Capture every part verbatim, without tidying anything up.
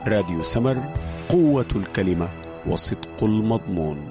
راديو سمر، قوة الكلمة وصدق المضمون.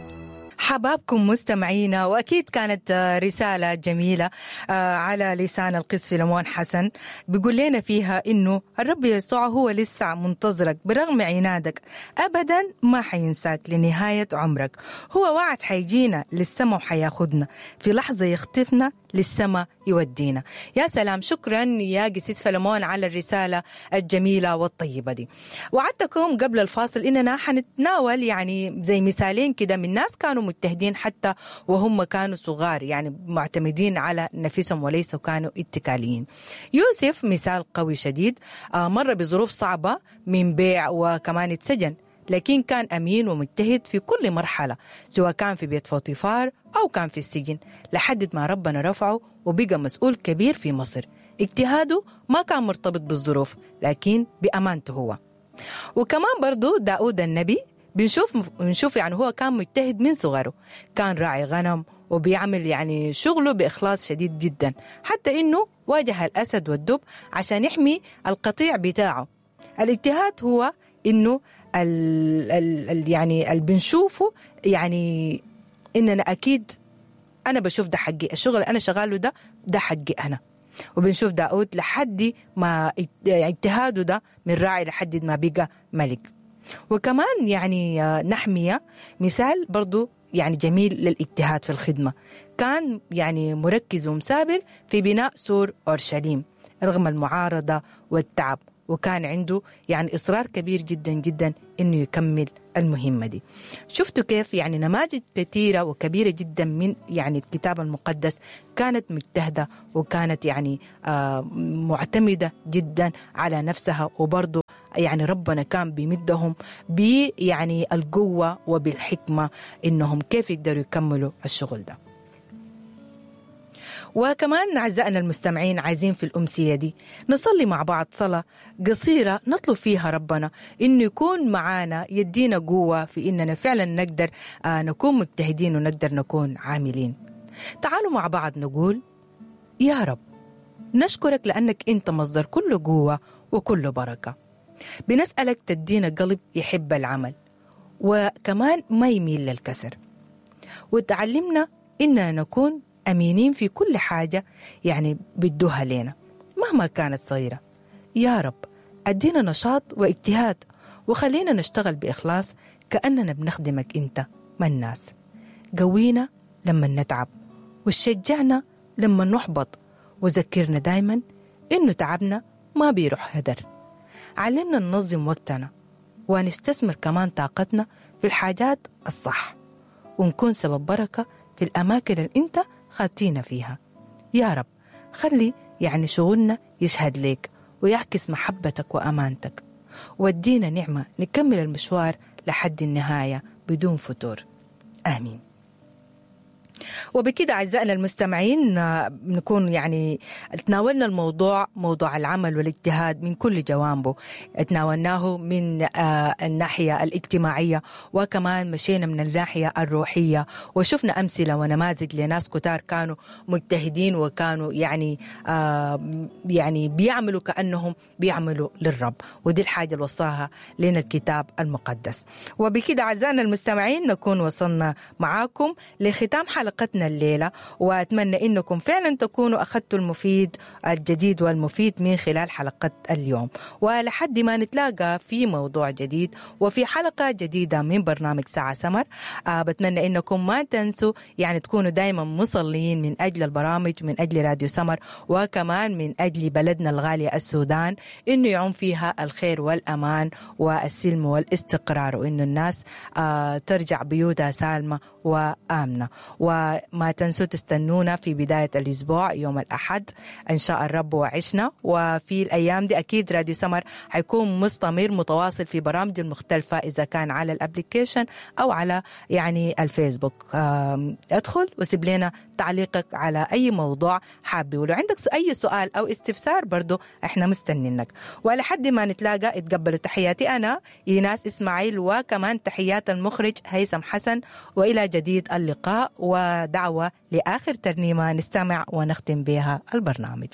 حبابكم مستمعينا، وأكيد كانت رسالة جميلة على لسان القس فيلمون حسن، بيقول لنا فيها إنه الرب يسوع هو لسه منتظرك برغم عنادك، أبدا ما حينساك لنهاية عمرك. هو وعد حيجينا للسما وحياخدنا في لحظة، يخطفنا للسما يودينا. يا سلام، شكرا يا قسيس فلمون على الرسالة الجميلة والطيبة دي. وعدتكم قبل الفاصل إننا حنتناول يعني زي مثالين كده من ناس كانوا مجتهدين حتى وهم كانوا صغار، يعني معتمدين على نفسهم وليسوا كانوا اتكاليين. يوسف مثال قوي شديد، مر بظروف صعبة من بيع وكمان اتسجن، لكن كان أمين ومجتهد في كل مرحلة، سواء كان في بيت فوطيفار أو كان في السجن، لحد ما ربنا رفعه وبقى مسؤول كبير في مصر. اجتهاده ما كان مرتبط بالظروف، لكن بأمانته هو. وكمان برضو داود النبي بنشوف بنشوف يعني هو كان مجتهد من صغره، كان راعي غنم وبيعمل يعني شغله بإخلاص شديد جدا، حتى إنه واجه الأسد والدب عشان يحمي القطيع بتاعه. الاجتهاد هو إنه ال ال يعني اللي بنشوفه، يعني إننا أكيد أنا بشوف ده حقي، الشغل اللي أنا شغاله ده ده حقي أنا. وبنشوف داود لحد ما اجتهاده ده من راعي لحد ما بقى ملك. وكمان يعني نحمية مثال برضو يعني جميل للاجتهاد في الخدمة، كان يعني مركز ومثابر في بناء سور أورشليم رغم المعارضة والتعب، وكان عنده يعني إصرار كبير جدا جدا إنه يكمل المهمة دي. شفتوا كيف يعني نماذج كثيرة وكبيرة جدا من يعني الكتاب المقدس كانت مجتهدة وكانت يعني آه معتمدة جدا على نفسها، وبرضو يعني ربنا كان بيمدهم ب يعني القوة وبالحكمة إنهم كيف يقدروا يكملوا الشغل ده. وكمان أعزائنا المستمعين عايزين في الأمسية دي نصلي مع بعض صلاة قصيرة نطلب فيها ربنا إنه يكون معانا، يدينا قوة في إننا فعلا نقدر نكون مجتهدين ونقدر نكون عاملين. تعالوا مع بعض نقول: يا رب نشكرك لأنك أنت مصدر كل قوة وكل بركة. بنسألك تدينا قلب يحب العمل وكمان ما يميل للكسر، وتعلمنا إننا نكون أمينين في كل حاجة يعني بدوها لنا مهما كانت صغيرة. يا رب أدينا نشاط واجتهاد وخلينا نشتغل بإخلاص كأننا بنخدمك أنت ما الناس. قوينا لما نتعب وشجعنا لما نحبط، وذكرنا دايما إنه تعبنا ما بيروح هدر. علمنا ننظم وقتنا ونستثمر كمان طاقتنا في الحاجات الصح، ونكون سبب بركة في الأماكن اللي أنت خاتينا فيها. يا رب خلي يعني شغلنا يشهد لك ويعكس محبتك وأمانتك، ودينا نعمة نكمل المشوار لحد النهاية بدون فتور. آمين. وبكده أعزائنا المستمعين نكون يعني تناولنا الموضوع، موضوع العمل والاجتهاد من كل جوانبه، تناولناه من الناحية الاجتماعية، وكمان مشينا من الناحية الروحية، وشفنا أمثلة ونماذج لناس كتار كانوا مجتهدين وكانوا يعني يعني بيعملوا كأنهم بيعملوا للرب، ودي الحاجة اللي وصاها لنا الكتاب المقدس. وبكده أعزائنا المستمعين نكون وصلنا معاكم لختام حلقتنا الليلة، وأتمنى إنكم فعلا تكونوا أخذتوا المفيد الجديد والمفيد من خلال حلقة اليوم. ولحد ما نتلاقى في موضوع جديد وفي حلقة جديدة من برنامج ساعة سمر، آه بتمنى إنكم ما تنسوا يعني تكونوا دايما مصلين من أجل البرامج، من أجل راديو سمر، وكمان من أجل بلدنا الغالية السودان، إنه يعم فيها الخير والأمان والسلم والاستقرار، وإنه الناس آه ترجع بيوتها سالمة وآمنة. وما تنسوا تستنونا في بداية الأسبوع يوم الأحد إن شاء الرب وعشنا. وفي الأيام دي أكيد راديو سمر حيكون مستمر متواصل في برامج المختلفة، إذا كان على ال application أو على يعني الفيسبوك. أدخل وسيب لنا تعليقك على أي موضوع حابي، ولو عندك أي سؤال أو استفسار برضو إحنا مستنينك. ولحد ما نتلاقى اتقبلوا تحياتي أنا إيناس إسماعيل، وكمان تحيات المخرج هيثم حسن، وإلى جديد اللقاء ودعوة لآخر ترنيمة نستمع ونختم بها البرنامج.